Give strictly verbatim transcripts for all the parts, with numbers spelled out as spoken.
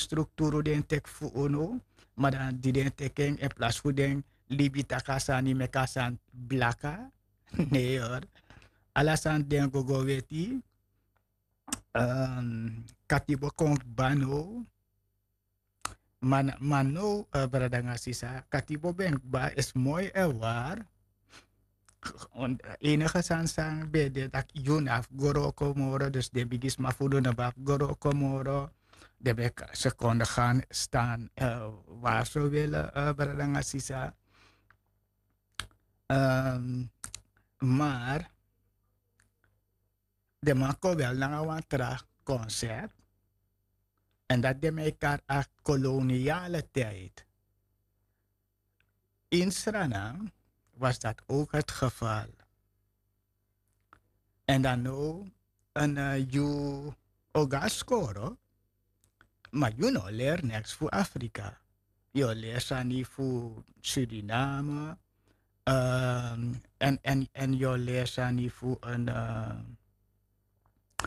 strukturu den teki fu unu. Ma dan di den teki en in plas fu den libi taki a sani meki a sani blaka. Ne yor. Ala sani den go go weti. Katibo kon kba now. Ma now brada nanga sisa, katibo ben kba esi moi en wari. Enige sani san ben de tak' yu no abi go wroko moro, dus den bigisma fu unu no ben abi go wroko moro. Den ben sekonde gan stan wari so wele, brada nanga sisa. Mar den man kon wel nanga wan tra konsept. En dat den man e kari a koloniale tijd. In Sranan was dat ook het geval. En dan now, en yu o go na skoro, ma yu no leri neks fu Afrika. Yu o leri sani fu Suriname. En yu o leri sani fu en,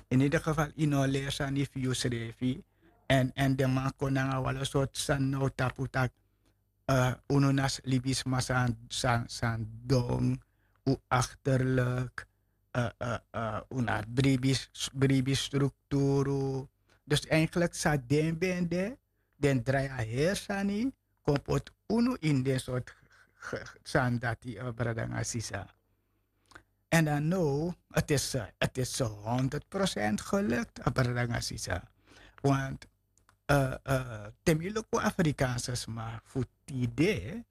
in ieder geval yu no o leri sani fu yusrefi. En den man kon nanga wale sortu sani now tapu taki, unu na libisma san don, un achterlijk, un na bribi strukturu. Dus eigenlijk san den ben de, den drai a heri sani kon poti unu ini den sortu sani dati, brada nanga sisa. En dan now, het is honderd procent gelukt, brada nanga sisa. Want te mi luku Afrikaanse sma fu tide,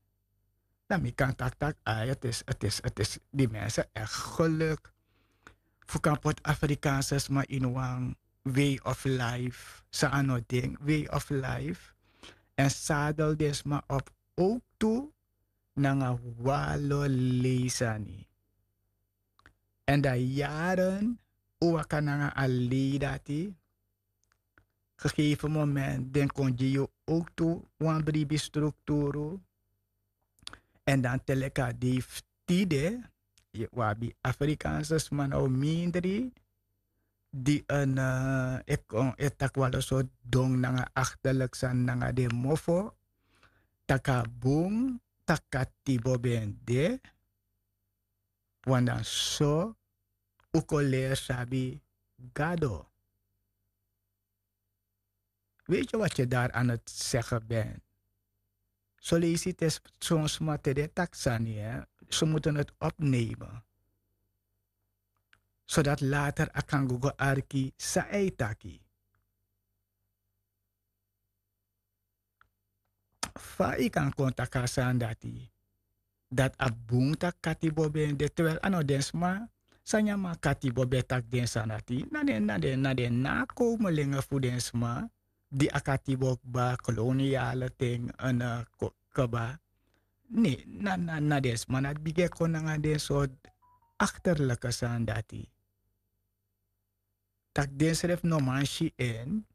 dan mi kan taki tak' ai, het is, het is, het is die mensen echt geluk. Fu kan poti Afrikaanse sma ini wan way of life san a no den way of life. En sadel den sma op ook tu nanga walo lei sani. En dan yaren un waka nanga a lei dati. Gegeven moment den kon gi yu ook tu wan bribi strukturu. En dan te leki a dei fu tide, wi abi Afrikaanse sma now mindri di en e taki walo sortu don nanga achterlijk sani nanga den mofo. Tak' a bun tak' katibo ben de. Wan dan so un kon leri sabi Gado. Weet je wat je daar aan het zeggen bent? Soleisi te son sma te den taki sani, ze moeten het opnemen, zodat later a kan go go arki san a e taki. Fa yu kan kon taki a sani dati, dati a bun tak' katibo ben de, terwijl a no den sma san nyan man katibo ben taki den sani dati, na den na den na den nakomelingen fu den sma di a katibo kba, koloniale ten, kba. Ne, na den sma na di bigin e kon nanga den sortu achterlijke sani dati. Tak' den srefi no man si en,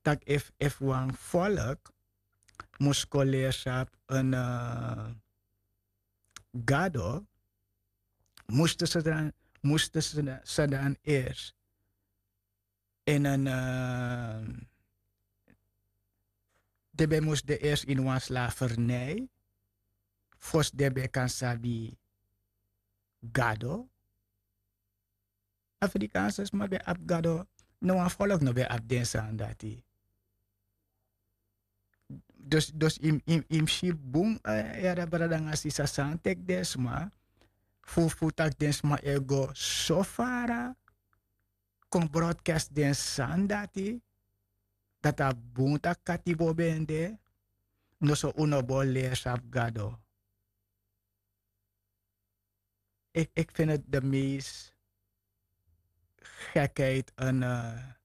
tak' efu efu wan volk mus kon leri sabi en Gado, musten se dan musten se dan eerst in en den ben mus de eerst ini wan slavernij fosi den ben kan sabi Gado. Afrikaanse sma ben abi Gado. No wan volk no ben abi den sani dati. Dus dus yu mus si bun, yara brada nanga sisa, san teki den sma fu fu tak' den sma e go so fara kon broadcast den sani dati. Dati a bun tak' katibo ben de. Noso un no bo leri sabi Gado. Ik ik vind het de meest gekheid en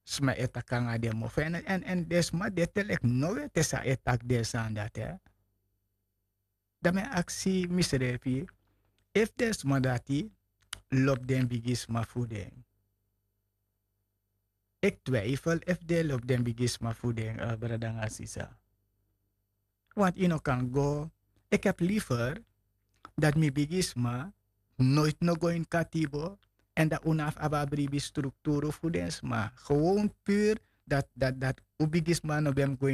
sma e taki nanga den mofo en den sma de te leki no weti san e taki den sani dati. Dan mi e aksi misrefi efu den sma dati lobi den bigisma fu den. Ik twijfel efu den lobi den bigisma fu den, brada nanga sisa. Want yu no kan go. Ik heb liever dat mi bigisma noit no go ini katibo. En dat un no abi abi a bribi strukturu fu den sma, gewoon pur dat dat dat un bigisma no ben mus go ini